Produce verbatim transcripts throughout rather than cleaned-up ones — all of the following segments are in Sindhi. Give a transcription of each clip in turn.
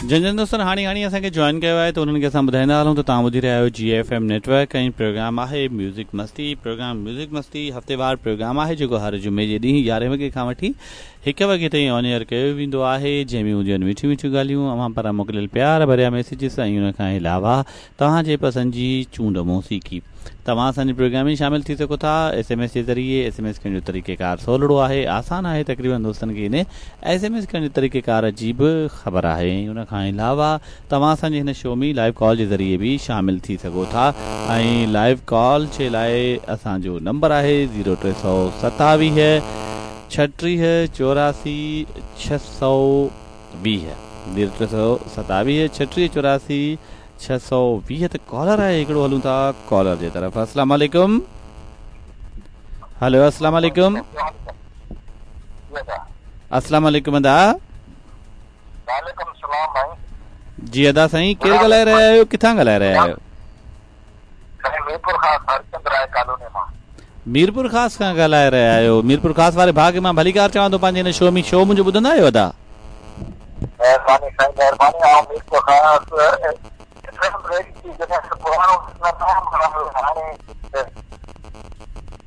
جن جن دوستن هاڻي هاڻي اسان کي جوائن ڪيو آهي ته انهن کي اسان ٻڌائيندا هلون ته توهان ٻڌي رهيا آهيو جي F M network ۽ programme آهي ميوزڪ مستي. پروگرام ميوزڪ مستي هفتيوار پروگرام آهي جيڪو هر جمعي جي ڏينهن يارهين وڳي کان وٺي هڪ وڳي تائين آن ايئر ڪيو ويندو آهي، جنهن ۾ هونديون آهن مٺيون مٺيون ڳالهيون، اوهان پاران موڪليل پيار ڀريا ميسيجز ۽ ان کان علاوه توهان جي پسند جي چونڊ موسيقي. توهان اسان جي پروگرام ۾ شامل ٿي سگهو ٿا ايس ايم ايس جي ذريعي. ايس ايم ايس ڪرڻ جو طريقيڪار سولڙو آهي، آسان آهي، تقريبن دوستن کي ان ايس ايم ايس ڪرڻ جي طريقيڪار جي به خبر آهي ۽ ان کان علاوه توهان اسان جي هن شو ۾ لائيو ڪال جي ذريعي به شامل ٿي سگهو ٿا ۽ لائيو ڪال جي لاء اسان جو نمبر آهي زيرو ٽي سؤ ستاويهه ڇٽيهه چوراسي ڇهه سؤ ويهه، زيرو ٽي سؤ ستاويهه ڇٽيهه چوراسي ڇهه سؤ ويهه. ته ڪالر آهي هڪڙو، هلون ٿا ڪالر جي طرف. السلام عليڪم. هلو، السلام عليڪم. السلام عليڪم ادا. وعليڪم السلام ڀائي. جي ادا سائين، ڪير ڳالهائي رهيا آهيو، ڪٿان ڳالهائي رهيا آهيو؟ سائين، ميرپور خاص هرچند راءِ ڪالوني مان. ميرپور خاص کان ڳالهائي رهيا آهيو. ميرپور خاص واري ڀاءُ کي مان ڀليڪار چوان ٿو پنهنجي هن شو ۾. شو منهنجو ٻڌندا آهيو ادا؟ مهرباني سائين، مهرباني. آئون ميرپور خاص پراڻو هاڻي.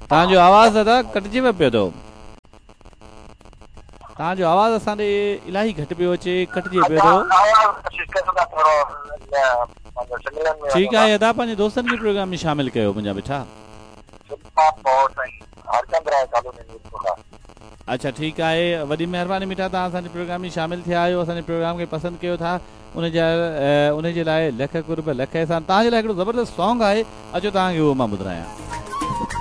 توهان جو آواز دادا ڪٽجي ويو پيو ٿو. توهان جو آواز اسان ڏي الاهي گهٽ پيو اچي، ڪٽجي پيو ٿو. ٺيڪ آهي ادا، پنهنجي دوستن کي پروگرام ۾ شامل ڪيو منهنجا مٺا. هرچند راءِ ڪالوني، ميرپور خاص. اڇا، ٺيڪ آهي، وڏي مهرباني مٺا، توهان اسان جي پروگرام ۾ شامل ٿيا آهيو، اسان جي پروگرام کي پسند ڪيو ٿا، ان جي ان جي لاءِ لک قرب، لک احسان. توهان جي لاءِ هڪڙو زبردست سانگ آهي، اچو توهان کي اهو مان ٻڌايان.